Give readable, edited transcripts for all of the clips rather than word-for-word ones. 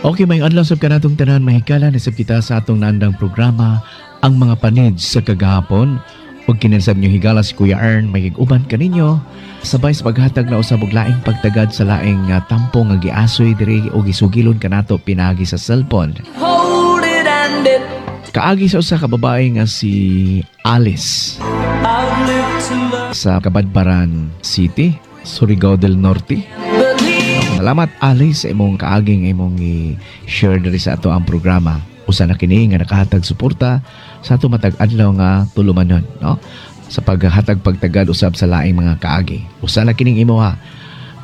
Okay, maayong adlaw sab kanatong tanan, mahigala na sab kita sa atong naandang programa, Ang Mga Panid sa Kagahapon. Ug kini sab inyong higala, si Kuya Ern, makig-uban kaninyo sabay sa paghatag na usab og laing pagtagad sa laing tampo nga giasoy diri o gisugilon kanato pinaagi sa cellphone. Hold it and it Kaagi sa usa ka babae nga si Alice I've lived to love sa Cabadbaran City, Surigao del Norte. Believe. Salamat, Alice, sa imong kaaging imong i-share diri sa ato ang programa. Usa na kini nga nakahatag suporta sa ato matag adlaw nga tulumanon, no? Sa paghatag pagtagad usab sa laing mga kaagi. Usa na kining imo ha.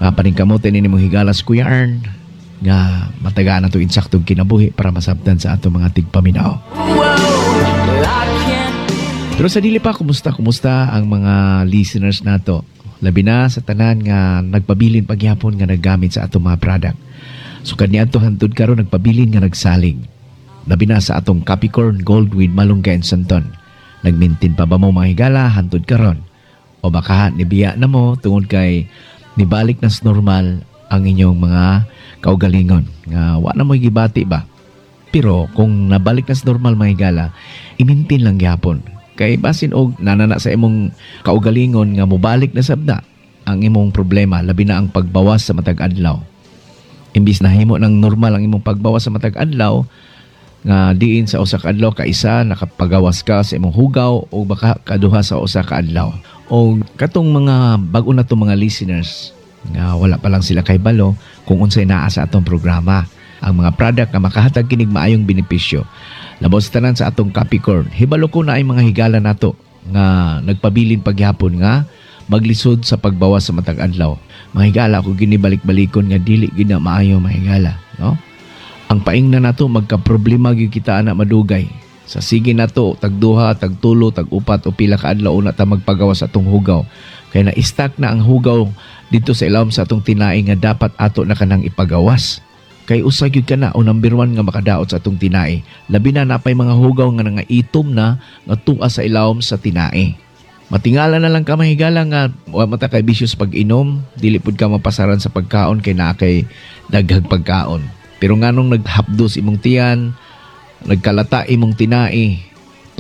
Nga paningkamote ni imong higala si Kuya Ern nga matagaan ato insaktong kinabuhi para masabtan sa ato mga tigpaminaw. Whoa, I can't Pero sa dili pa, kumusta, kumusta ang mga listeners nato? Labi na sa tanan nga nagpabilin pagyapon nga naggamit sa atong mga product. So kaniadto hantod karon nagpabilin nga nagsalig. Labi na sa atong Capricorn Gold with Malunggay and Santon. Nagmintin pa ba mo, mga higala, hantod karon? O baka nibiya na mo tungod kay nibalik na sa normal ang inyong mga kaugalingon nga wa na mo gibati ba? Pero kung nabalik na sa normal, mga higala, imintin lang gyapon. Kay basin og nanana sa imong kaugalingon nga mobalik na sabda ang imong problema, labi na ang pagbawas sa matag adlaw. Imbis na himo ng normal ang imong pagbawas sa matag adlaw, nga diin sa usa ka adlaw kaisa nakapagawas ka sa imong hugaw o baka kaduha sa usa ka adlaw. O katong mga bag-o na tong mga listeners nga wala pa lang sila kay balo kung unsay naa sa atong programa. Ang mga product nga makahatag kinig maayong benepisyo. Labaw sa tanan sa atong Capricorn. Hibalo ko na ay mga higala nato nga nagpabilin pagyapon nga maglisod sa pagbawas sa matag adlaw. Mga higala, ako ginibalik-balikon nga dili gid na maayo, mga higala, no? Ang paingna nato, magka-problema gyud kita ana madugay. Sa sige nato tagduha, tagtulo, tag-upat o pila ka adlaw una ta magpagawas sa atong hugaw. Kay na-stuck na ang hugaw dito sa ilawom sa atong tinai nga dapat ato na kanang ipagawas. Kay usa gyud kana o number one nga makadaot sa atong tinai. Labi na napay mga hugaw nga nangaitom na nga tua sa ilawom sa tinai. Matingala na lang ka, mahigala, nga wa mata kay bisyo sa pag-inom, dili pud ka mapasaran sa pagkaon kay naa kay daghag pagkaon. Pero nganong naghapdos imong tiyan, nagkalata imong tinai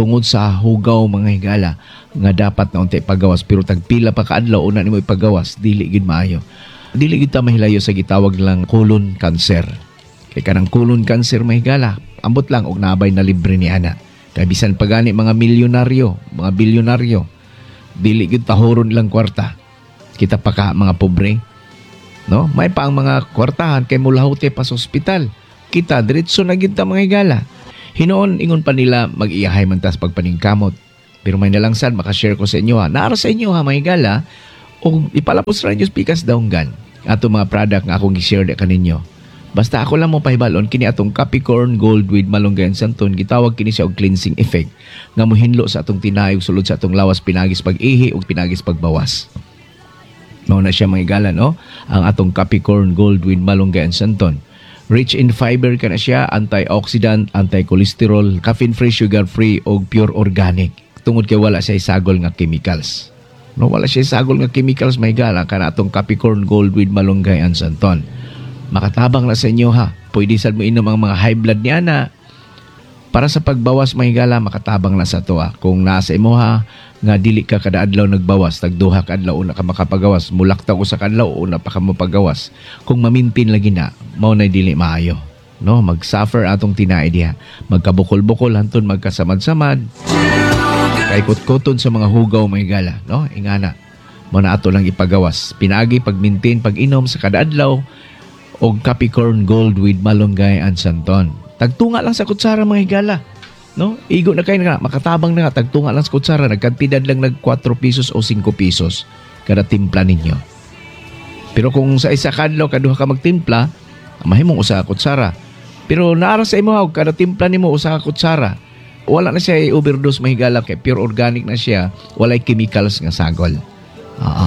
tungod sa hugaw, mga higala, nga dapat na unta ipagawas pero tagpila pa kaadlaw una nimo ipagawas, dili gid maayo. Dili gid ta mahilayo sa gitawag lang colon cancer. Kay kanang colon cancer, mahigala, ambot lang og nabay na libre ni ana. Kay bisan pa gani mga milyonaryo, mga bilyonaryo, dili gid tahoron ilang kwarta. Kita pa ka mga pobre. No? May pa ang mga kwartahan kay mulahote pa sa ospital. Kita diretso na gid ta, mga higala. Hinoon, ingon pa nila mag-iyahay man tas pagpaningkamot. Pero may nalangsan makashare ko sa inyo ha. Naara sa inyo ha, mga higala, o ipalapos ra inyo pikas daunggan ato mga product nga akong gi-share di kaninyo. Basta ako lang mo pahibalon kini atong Capricorn Gold with Malunggay and Santon, gitawag kini siya og cleansing effect nga mohinlo sa atong tinai ug sulod sa atong lawas pinagis pag-ihi ug pinagis pagbawas. Mao na siya, mga higala, no? Ang atong Capricorn Gold with Malunggay and Santon. Rich in fiber kana siya, antioxidant, anti-cholesterol, caffeine-free, sugar-free ug pure organic. Tungod kay wala siya isagol nga chemicals. No, wala siya isagol nga chemicals, mga higala, kana atong Capricorn Gold with Malunggay and Santon. Makatabang na sa inyo ha. Pwede sad mo inom ang mga high blood niya na para sa pagbawas, mga higala, makatabang na sa to ha. Kung nasa imo ha, nga dili ka kada adlaw nagbawas, tagduha ka adlaw una ka makapagawas, mulaktaw usa ka adlaw una pa ka mapagawas. Kung mamintin lagi na, mao na dili maayo. No, mag-suffer atong tinai diha. Magkabukol-bukol hantod magkasamad-samad. Kay kutkuton sa mga hugaw, mga higala, no? Ingana. Mao na ato lang ipagawas. Pinaagi pag-maintain pag-inom sa kada adlaw og Capricorn Gold with Malunggay and Santon. Tagtunga lang sa kutsara, mga higala. No? Igo na kayo nga, makatabang na nga, tagtunga lang sa kutsara, nagkantidad lang nag 4 pesos o 5 pesos kada timpla ninyo. Pero kung sa isa ka adlaw kaduha ka magtimpla, mahimong usa ka kutsara. Pero naara sa imo kada timpla nimo usa ka kutsara. Wala na siya overdose, mahigala, kay pure organic na siya, walay chemicals nga sagol. Oo.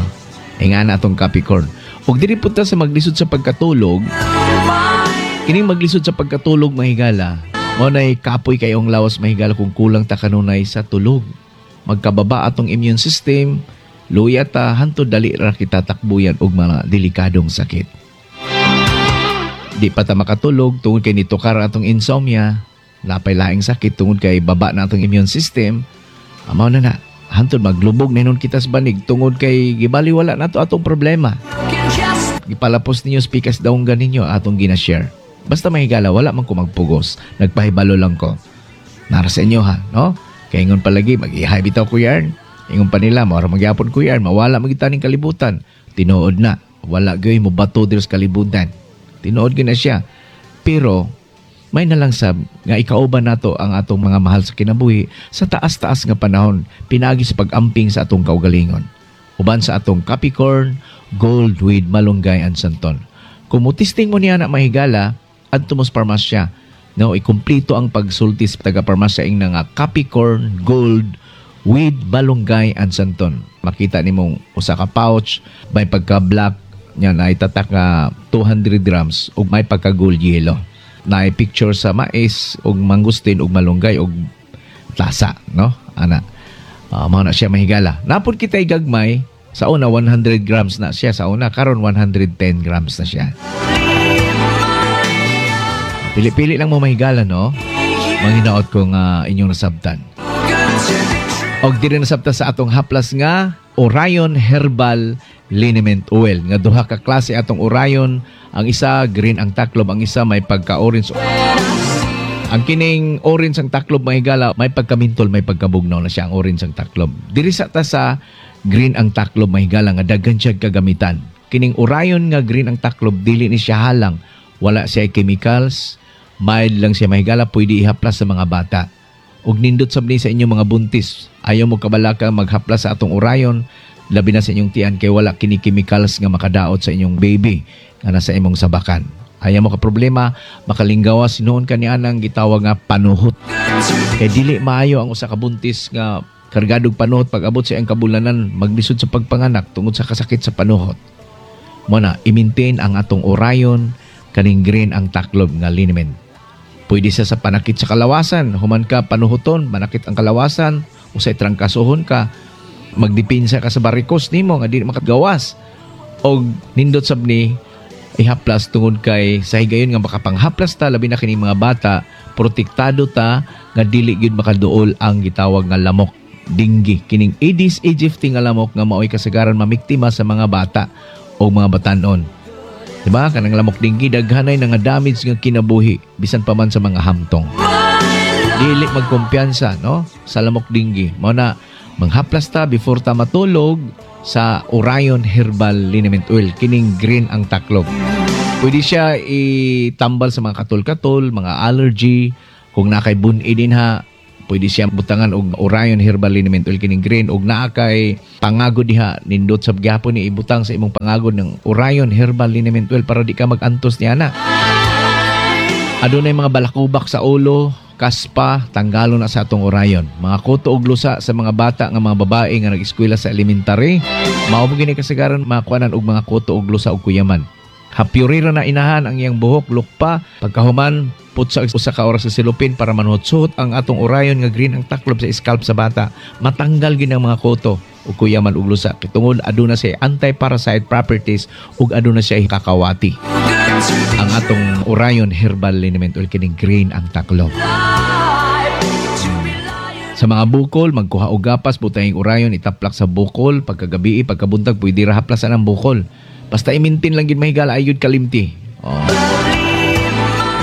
Ingana atong Capricorn. Ug diri pud ta sa maglisod sa pagkatulog. Kining maglisod sa pagkatulog, mahigala, mao nay kapoy kayong lawas, mahigala, kung kulang ta kanunay sa tulog. Magkababa atong immune system, luya ta hantod dali ra kita takbuyan og mga delikadong sakit. Di pa ta makatulog tungod kay nitukar atong insomnia, napay laing sakit tungod kay baba na atong immune system. Mao na na. Hantod maglubog na hinuon kita sa banig tungod kay gibaliwala nato atong problema. Can just Gipalapos ninyo pikas dawnggan ninyo atong gina-share. Basta mahigala, wala man ko magpugos. Nagpahibalo lang ko. Nara sa inyo ha, no? Kay ingon palagi, mag-ihay bitaw ko yarn. Ingon pa nila, maura magyapon ko yarn, mawala magita ning kalibutan. Tinuod na, wala gyoy mo bato diri sa kalibutan. Tinuod gyud na siya. Pero may nalang sab nga ikauban nato ang atong mga mahal sa kinabuhi sa taas-taas nga panahon pinaagi sa pag-amping sa atong kaugalingon. Uban sa atong Capricorn Gold with Malunggay and Santon. Kung mo-testing mo niya na mahigala, adto mo sa parmasya. No, ikumplito ang pagsulti sa taga-parmasya ing nga Capricorn Gold with Malunggay and Santon. Makita nimong usa ka pouch, may pagka-black nya na itatak nga 200 grams ug may pagka gold yellow. Na picture sa mais ug mangustin ug malunggay ug tasa, no? Ana. Mao na siya mahigala. Napod kita gagmay sa una 100 grams na siya sa una, karon 110 grams na siya. Pili-pili lang mo mahigala, no? Manghinaot ko nga inyong nasabtan. Good to be true. Og diri nasabta sa atong haplas nga Orion Herbal Liniment Oil. Nga duha ka klase atong Orion, ang isa green ang taklob, ang isa may pagka-orange. Ang kining orange ang taklob mahigala, may pagkamintol, may pagkabugnaw na siya ang orange ang taklob. Diri sa ta sa green ang taklob mahigala nga daghan siya kagamitan. Kining Orion nga green ang taklob dili ni siya halang, wala siya chemicals, mild lang siya mahigala, pwede ihaplas sa mga bata. Ug nindot sab ni sa inyong mga buntis. Ayaw mo kabalaka maghaplas sa atong Orion, labi na sa inyong tiyan kay wala kini chemicals nga makadaot sa inyong baby nga nasa imong sabakan. Ayaw mo ka problema, makalinggawas noon ka ni anang gitawag nga panuhot. Kay dili maayo ang usa ka buntis nga kargadog panuhot pag abot sa iyang kabulanan maglisod sa pagpanganak tungod sa kasakit sa panuhot. Mo na i-maintain ang atong Orion kaning green ang taklob nga liniment. Pwede siya sa panakit sa kalawasan, human ka panuhuton, manakit ang kalawasan, usay trangkasuhon ka, magdipinsa ka sa varicose nimo nga di makagawas. Og nindot sab ni ihaplas tungod kay sa higayon nga makapanghaplas ta labi na kini mga bata, protektado ta nga dili gyud makaduol ang gitawag nga lamok dinggi, kining Aedes aegypti nga lamok nga maoy kasagaran mamiktima sa mga bata o mga batanon. Diba? Kanang lamok dinggi daghanay na nga damage nga kinabuhi bisan pa man sa mga hamtong. Dili magkumpiyansa, no, sa lamok dinggi. Mao na manghaplas ta before ta matulog sa Orion Herbal Liniment Oil kining green ang taklob. Pwede siya itambal sa mga katol-katol, mga allergy, kung naa kay bun-i din ha, pwede siya butangan og Orion Herbal Liniment Oil kining green, og naa kay pangagod diha, nindot sab gyapon ni ibutang sa imong pangagod ng Orion Herbal Liniment Oil para di ka magantos niya na. Adunay mga balakubak sa ulo, kaspa, tanggalo na sa atong Orion. Mga kuto og lusa sa mga bata nga mga babae nga nag-eskwela sa elementary, mao mo gini kasagaran makuanan og mga kuto og lusa og kuyaman. Hapyurira na inahan ang iyang buhok, lukpa, pagkahuman, putsa usa ka oras sa silupin para manuhot-suhot ang atong Orion nga green ang taklob sa scalp sa bata. Matanggal gid ang mga kuto ug kuyaman og lusa. Kitungod aduna siya anti-parasite properties ug aduna siya kakawati. Ang atong Orion Herbal Liniment Oil kining green ang taklob. Sa mga bukol, magkuha og gapas, butanging Orion, itaplak sa bukol, pagkagabi, pagkabuntag, pwede ra haplasan ang bukol. Basta i-maintain lang gid mahigala, ayud kalimti. Oh.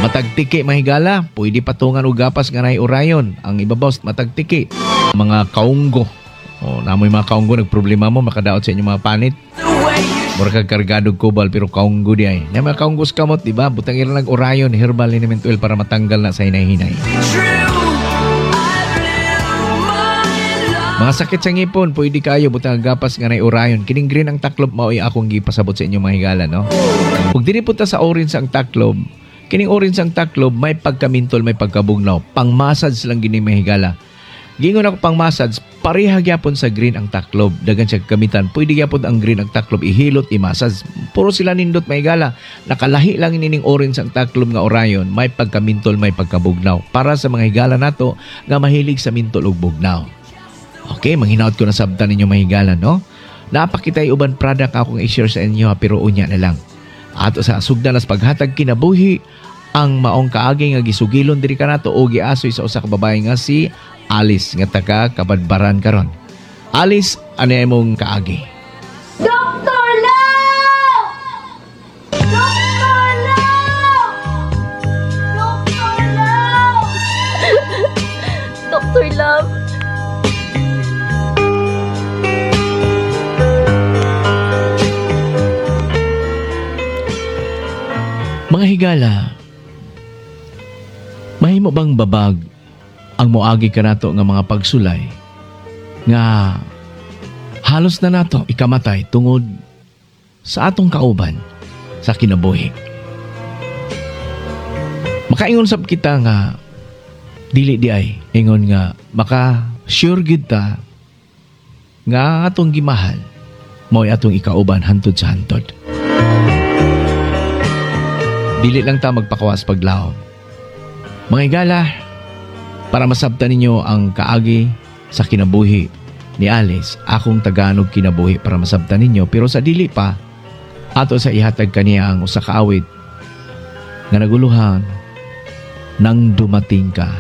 Matagtiki mahigala, pwede patungan og gapas nga naay Orion. Ang ibabaw matagtiki. Mga kaunggo. Oh, namoy mga kaunggo nagproblema mo makadaot sa inyong mga panit. Mura kag kargado kubal pero kaunggo di ay. Na mga kaunggo sa kamot, di ba? Butang ira nag Orion Herbal Liniment Oil para matanggal na sa hinay-hinay. Mga sakit sa ngipon, pwede kayo butang gapas nga nay Orion. Kining green ang taklob mao'y akong gipasabot sa inyong mga higala, no? Ug diri punta sa orange ang taklob, kining orange ang taklob may pagkamintol, may pagkabugnaw. Pang-massage lang gini mga higala. Gingon ako pang-massage, pareha gyapon sa green ang taklob. Dagan siya gamitan. Pwede gyapon ang green ang taklob ihilot, i-massage. Puro sila nindot mahigala. Nakalahi lang ining orange ang taklob nga Orion, may pagkamintol, may pagkabugnaw. Para sa mga higala nato nga mahilig sa mintol ug bugnaw. Okay, manghinaot ko na sabtan ninyo mahigala, no? Napakitay uban product akong i-share sa inyo, ha, pero unya na lang. Ato sa sugdan sa paghatag kinabuhi ang maong kaagi nga gisugilon diri kanato o giasoy sa usa ka babae nga si Alice nga taga Kabadbaran karon. Alice, ano imong kaagi? Dr. Love! Dr. Love! Dr. Love! Dr. Love! Mga higala, mahimo bang babag ang moagi kanato nga mga pagsulay nga halos na nato ikamatay tungod sa atong kauban sa kinabuhi? Makaingon sab kita nga dili di ay ingon nga maka sure gid ta nga atong gimahal mao'y atong ikauban hantod sa hantod. Dili lang ta magpakawas paglaom. Mga higala, para masabtan ninyo ang kaagi sa kinabuhi ni Alice, akong tagaan og kinabuhi para masabtan ninyo, pero sa dili pa, ato sa ihatag kaniya ang usa ka awit nga naguluhan, "Nang Dumating Ka."